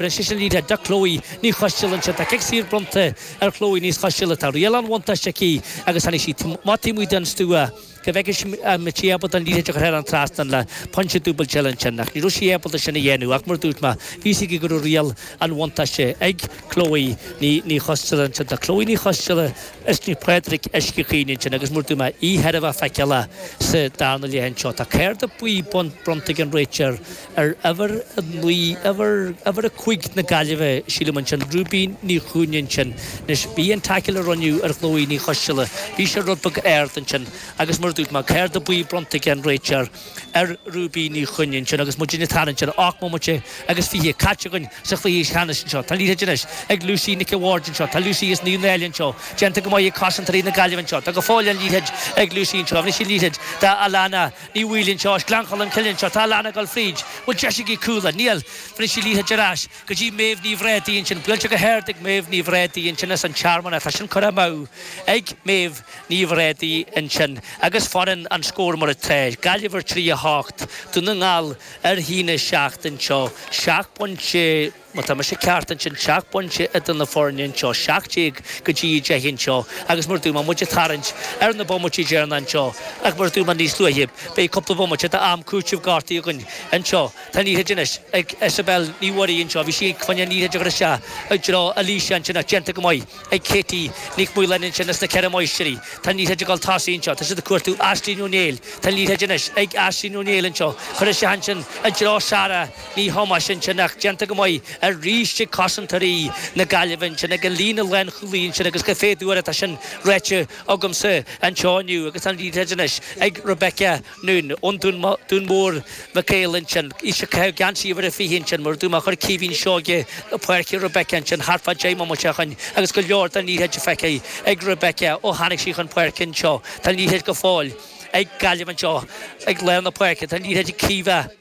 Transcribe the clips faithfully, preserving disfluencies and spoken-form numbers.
Anois an liathróid do Chloe Ní Choisteala anseo. Tá cic saor bronnta ar Chloe Ní Choisteala. Tá riail an bhuntáiste aici agus tháinig sí maith taobh amuigh den stua go bhfeicfidh an mbeidh sí ábalta an liathróid a chur thar an trasnán le pointe dúbailte eile ansin. Ach ní raibh sí ábalta sin a dhéanamh ach mar a dúirt mé, bhí a fhios aici go raibh riail an bhuntáiste ag Chloe Ní Choisteala ansin. Tá Chloe Ní Choisteala is Naomh Pádraig Uisce Chaoin ansin agus mar a dúirt mé, í thar a bheith feiceálach sa darna leath anseo. Tá cárta buí bronnta ag an réiteoir ar uimhir a naoi, uimhir, uimhir a cúig na Gaillimhe, sílim ansin, Ruby Ní Chúinne ansin. Anois, bhí an tackle a rinneadh ar Chloe Ní Choisteala, bhí sé rud beag ard ansin agus mar a dúirt mé, cárta buí bronnta ag an réiteoir ar Ruby Ní Chúinne ansin agus muid ag tarraingt ar ocht mbomaite agus fiche caite againn sa chluiche ceannais anseo. Tá an liathróid anois ag Lucy Nic an Bhaird anseo, tá Lucy as Naomh Náille anseo, déanta go maith ag cosantóirí na Gaillimhe anseo. Tá go fóill an liathróid ag Lucy anseo. Anois an liathróid d'Alana Ní Bhaoill anseo, as Gleann Cholm Cille anseo. Tá Alana ag dul fríd. Bhfuil deis aici cúl? Níl. Rinne sí liathróid ar ais go dtí Méabh Ní Bhrádaigh ansin. Buailte go hard ag Méabh Ní Bhrádaigh ansin as an Tearmann. Tá sin curtha amú ag Méabh Ní Bhrádaigh ansin agus fanann an scór mar atá, Gaillimh ar trí a hocht, Dún na nGall ar a haon a seacht anseo. Seacht bpointe. Má tá mise ceart ansin, seacht bpointe idir na foirne anseo, seacht déag go dtí a deich anseo agus mar a dúirt mé, muid ag tarraingt ar na bomaití deireanacha anseo ach mar a dúirt mé níos luaithe, beidh cúpla bomaite d'am cúitimh gortaithe againn anseo. Tá an liathróid anois ag Isabel Ní Mhuirí anseo, bhí sí ag coinne an liathróid a chur isteach i dtreo Alicia ansin ach déanta go maith ag Katie Nic Mhaoláin ansin as na Ceithre Máistrí. Tá an liathróid ag dul tosaigh anseo, tá siad ag cuartú Aisling Ó Néill. Tá an liathróid anois ag Aisling Ó Néill anseo, curtha isteach ansin i dtreo Sarah Ní Thomáis ansin ach déanta go maith arís ag cosantóirí na Gaillimhe ansin ag an líne lánchúlaí ansin agus den chéad uair atá sin ráite agamsa anseo inniu agus tá an liathróid anois ag Rebecca Noone ón Dún Dún Mór Mac Éil ansin. Í ag caitheamh geansaí uimhir a fiche ansin mar a dúirt mé chuir Caoimhín Seoige na páirce Rebecca ansin thart fá deich mbomaite ó shin agus go leor den liathróid feicthe ag Rebecca ó tháinig sí chun páirce anseo. Tá an liathróid go fóill ag Gaillimh anseo ag lár na páirce. Tá an liathróid ag Caoimhe.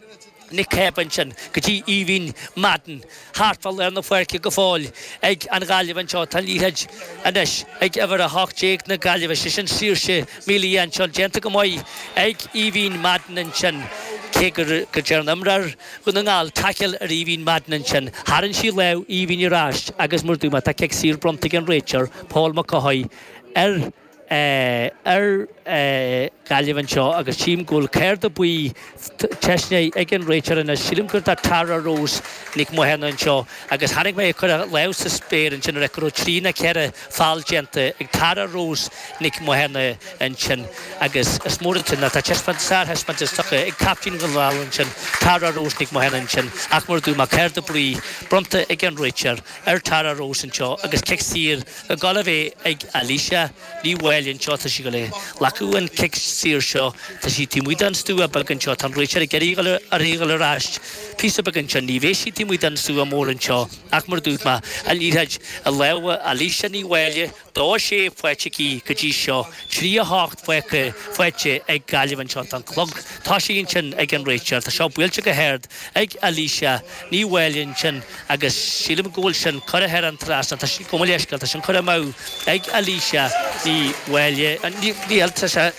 Nic Cába ansin go dtí Aoibhinn Madden thart fá lár na páirce go fóill ag an Ghaillimh anseo. Tá an liathróid anois ag uimhir a hocht déag na Gaillimhe, sé sin Saoirse Melia anseo. Déanta go maith ag Aoibhinn Madden ansin cé go ndearna imreoir Dhún na nGall taicil ar Aoibhinn Madden ansin. Tharraing sí lámh Aoibhinn ar ais agus mar a dúirt mé tá cic saor bronnta ag an réiteoir Paul Mac Cáthaigh ar ar Ghaillimh anseo agus tchím go bhfuil cárta buí teisnithe ag an réiteoir anois. Sílim gur do Tara Rose Nic Mhathúna anseo agus chonaic mé ag cur a lámh sa spéir ansin ar go raibh trí nó ceithre feall déanta ag Tara Rose Nic Mhathúna ansin agus is mór an t-ionadh tá taispeántas sárthaispeántas tugtha ag captaen Dhún na nGall ansin Tara Rose Nic Mhathúna ansin ach mar a dúirt mé cárta buí bronnta ag an réiteoir ar Tara Rose anseo agus cic saor ag dul a bheith ag Alicia Ní Mháille anseo. Tá sí ag dul a ghlacadh an cic saor seo. Tá sí taobh amuigh den stua beag anseo. Tá an réiteoir ag iarraidh a uirthi a dhul ar ais píosa beag anseo. Ní bheidh sí taobh amuigh den stua mór anseo ach mar a dúirt mé, an liathróid i lámha Alicia Ní Mháille. Dó a sé faighte aici go dtí seo. Trí a hocht faighte faighte ag Gaillimh anseo. Tá an clog tosaithe ansin ag an réiteoir. Tá seo buailte go hard ag Alicia Ní Mháille ansin agus sílim go bhfuil sin curtha thar an trasnán. Tá sí, gabh mo leithscéal, tá sin curtha amú ag Alicia Ní Mháille. Níl, tá sé,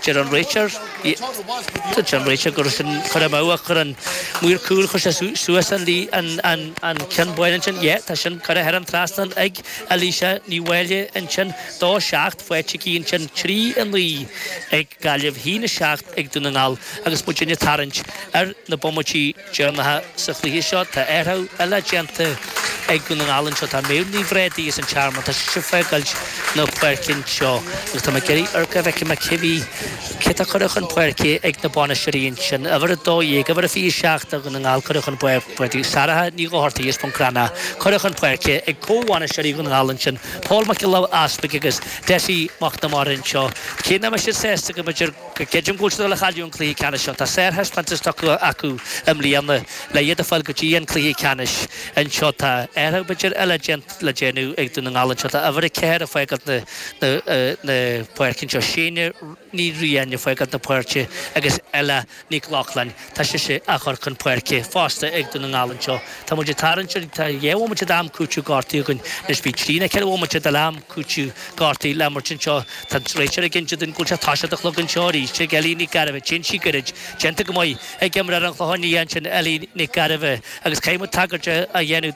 deir an réiteoir, deir an réiteoir go raibh sin curtha amú ach chuir an maor cúil, chuir sé suas an an an ceann bán ansin. Yeah, tá sin curtha thar an trasnán ag Alicia Ní Mháille ansin. Dó seacht faighte aici ansin, trí a naoi ag Gaillimh, haon a seacht ag Dún na nGall agus muid ag tarraingt ar na bomaití deireanacha sa chluiche seo. Tá athrú eile déanta ag Dún na nGall anseo. Tá Méabh Ní Bhrádaigh as an Tearmann. Tá sise ag fágáilt na páirce anseo agus tá mé ag iarraidh amharc an bhfeicfidh mé cé bhí, cé atá curtha chun páirce ag na bainisteoirí ansin. Uimhir a dó dhéag, uimhir a fiche seacht do Dhún na nGall curtha chun páirce, Sarah Ní Dhochartaigh as Bun Cranncha curtha chun páirce ag comhbhainisteoirí Dhún na nGall ansin, Paul Mac Giolla Easpaig agus Dessie Mac Namara anseo. Cé nach mbeidh siad sásta go mb'fhéidir go gcreidim go bhfuil siad ag dul a chailleadh an cluiche ceannais seo. Tá sárthaispeántas tugtha acu i mbliana le iad a fháil go dtí an cluiche ceannais anseo. Tá athrú b'fhéidir eile le déanamh ag Dún na nGall anseo. Tá uimhir a ceathair ag fágáilt na. na na páirce anseo. Séanna Ní Riain ag fágáil na páirce agus Ella Nic Lochlainn, tá sise á chur chun páirce fosta ag Dún na nGall anseo. Tá muid ag tarraingt ar, tá dhá bhomaite d'am cúiteamh gortaithe againn anois, bhí trí nó ceithre bhomaite d'am cúiteamh gortaithe le imirt anseo. Tá an réiteoir ag inse dúinn go bhfuil sé toiseacht an chlog anseo arís ag Ellie Nic Gairbheith. Téann sí gairid, déanta go maith ag imreoir an Chlocháin Liath ansin, Ellie Nic Gairbheith, agus caithfidh muid tagairt a dhéanamh don